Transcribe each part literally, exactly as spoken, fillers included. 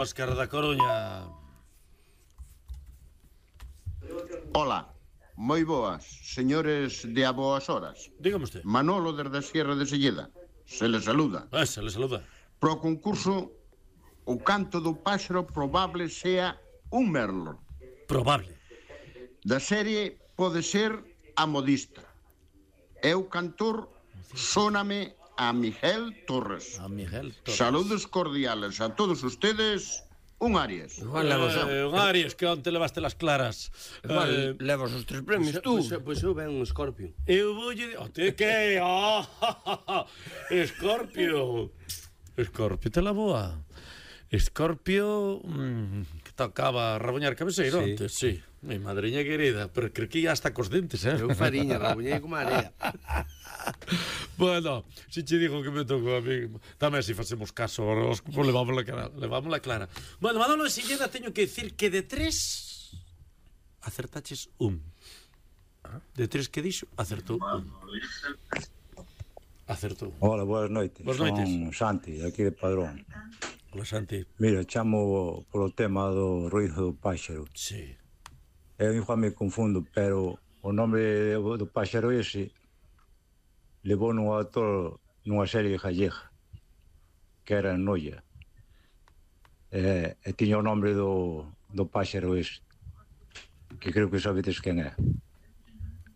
Óscar da Coruña. Ola, moi boas, señores de a boas horas. Dígame usted. Manolo desde a Sierra de Selleda. Se le saluda. Ah, se le saluda. Pro concurso, o canto do páxaro probable sea un merlo. Probable. Da serie pode ser a modista. E o cantor sóname a Miguel Torres. A Miguel Torres. Saludos cordiales a todos ustedes. Un Arias. Igual levas Eh, un Arias que onte levaste las claras. Igual Eh, levas os tres premios tú. Pois, pois eu ben un Scorpio. Eu voulle... Oh, te que? Oh, Escorpio. Escorpio, te la boa. Escorpio mm, que tocaba raboñar cabeceiro Sí. antes, sí. Mi madriña querida, pero creo que ya hasta cos dentes, eh? Eu fariña, rabuñei como area. Bueno, si che digo que me tocou a mí. Tamén se facemos caso, os, pues levamos la clara, levamos la clara. Bueno, Manolo de Silleda teño que decir que de tres acertaches un. De tres que dixo, acertou un. Acertou. Hola, boas noites. Boas noites. Son Santi, aquí de Padrón. Hola, Santi. Mira, chamo polo tema do ruido do páxaro. Sí. Eu igual me confundo, pero o nome do páxaro ese levou nun autor nunha serie gallega que era Noia. E, e tiña o nome do, do páxaro ese, que creo que sabedes quen é.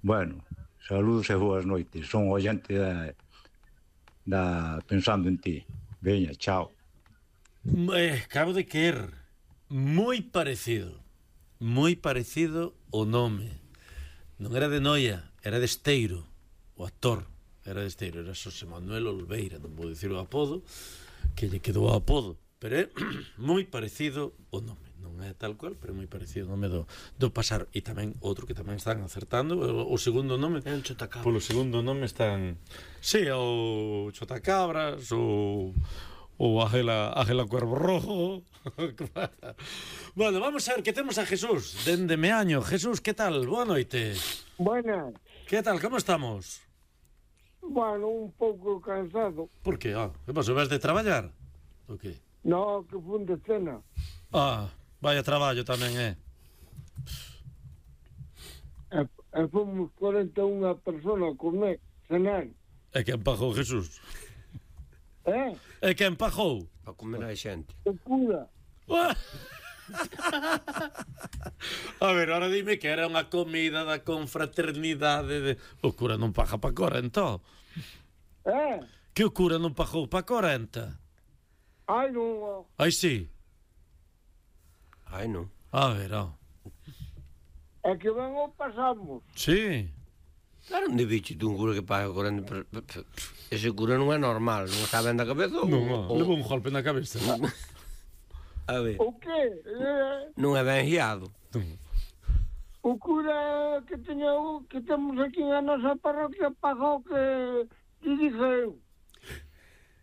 Bueno, saludos e boas noites. Son oyente da, da Pensando en Ti. Veña, chao. Eh, acabo de querer. Moi parecido. Moi parecido o nome. Non era de Noia, era de Esteiro. O actor era de Esteiro, era Xosé Manuel Olveira, non vou dicir o apodo, que lle quedou o apodo, pero é moi parecido o nome. Non é tal cual, pero é moi parecido o nome do, do pasar. E tamén outro que tamén están acertando, o, o segundo nome. É un chotacabras. Polo segundo nome están... Sí, o Chotacabras, o... ou Ágela, Ágela Cuervo Rojo. Bueno, vamos a ver que temos a Jesús dende Meaño. Jesús, que tal? Boa noite. Buenas. Que tal? Como estamos? Bueno, un pouco cansado. Por que? Ah, que pasou? Vas de traballar? O que? No, que fun de cena. Ah, vaya traballo tamén, eh? E, e fomos cuarenta e unha personas a comer, cenar. É quen pagou, Jesús? Eh? É quen pagou? Para comer a xente. O cura. Ah. A ver, ahora dime que era unha comida da confraternidade de... O cura non paga pa corenta. Eh? Que o cura non pagou pa corenta? Ai, non. Ai, sí. Ai, non. A ver, ó. É que ben o pasamos. Sí. Claro, onde bicho un cura que paga correndo... Ese cura non é normal, non está ben da cabeza ou... Non, ou- levou un golpe na cabeza. A ver, O que? Eh, non é ben guiado. o cura que teña o que temos aquí na nosa parroquia pagou que te dije eu.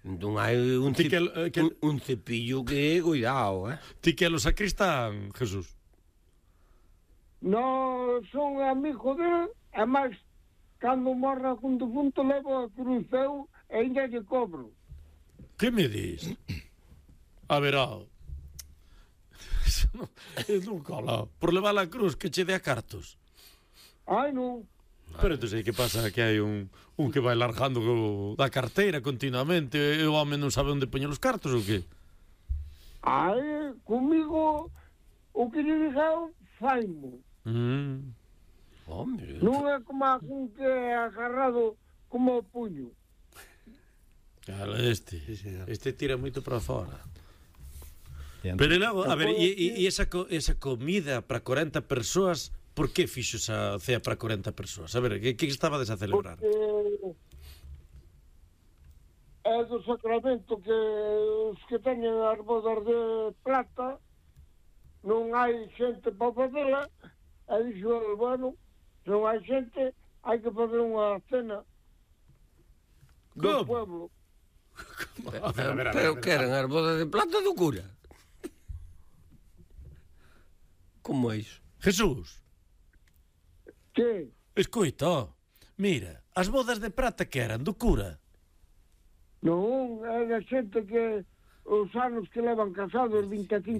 Entón hai un, Ti cep... que- eh, que- un, un cepillo que, cuidado, eh? Ti que é o sacristán, Jesús? No, son amigo dele, e máis, cando morra cun defunto levo a cruz eu e ainda lle cobro. Que me dis? A ver, ó. Eso non, eso non cola. Por levar a cruz que che dé a cartos. Ai, non. Pero entón aí que pasa que hai un, un que vai largando co- da carteira continuamente e o home non sabe onde poñer os cartos ou que? Ai, comigo, o que lle dixeu, faimo. Mm. Home, Non é como a un que é agarrado como o puño. Claro, este, Sí, señor. este tira moito para fora. Pero logo, a ver, e, e, e esa, co, esa comida para corenta persoas, por que fixo esa cea para corenta persoas? A ver, que, que estabades a celebrar? Porque é do sacramento que os que teñen as bodas de plata non hai xente para facela, e dixo, bueno, se non hai xente, hai que facer unha cena do Como? pueblo. A ver, a ver, a ver, pero a ver. que eran as bodas de plata do cura? Como é iso? Jesús, Que? escoita, mira, as bodas de prata que eran do cura. Non, é da xente que os anos que levan casados, vinte e cinco